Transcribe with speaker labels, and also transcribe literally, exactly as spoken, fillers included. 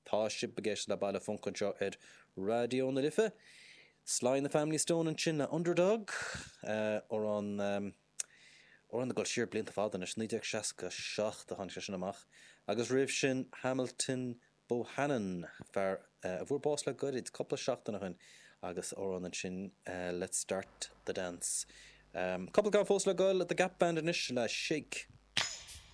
Speaker 1: Tá sibh ag éisteacht le Baile Func anseo ar Raidió na Life. Sly and the Family Stone ansin le Underdog amhrán amhrán ag dul siar blianta fada anois, naoi déag seasca seacht a tháinig sé sin amach, agus roimh sin Hamilton Bohannon, fear a fuair bás le goirid, cúpla seachtain ó shin, agus amhrán ansin Let's Start the Dance. Cúpla ceann fós le goil, The Gap Band anois le Shake.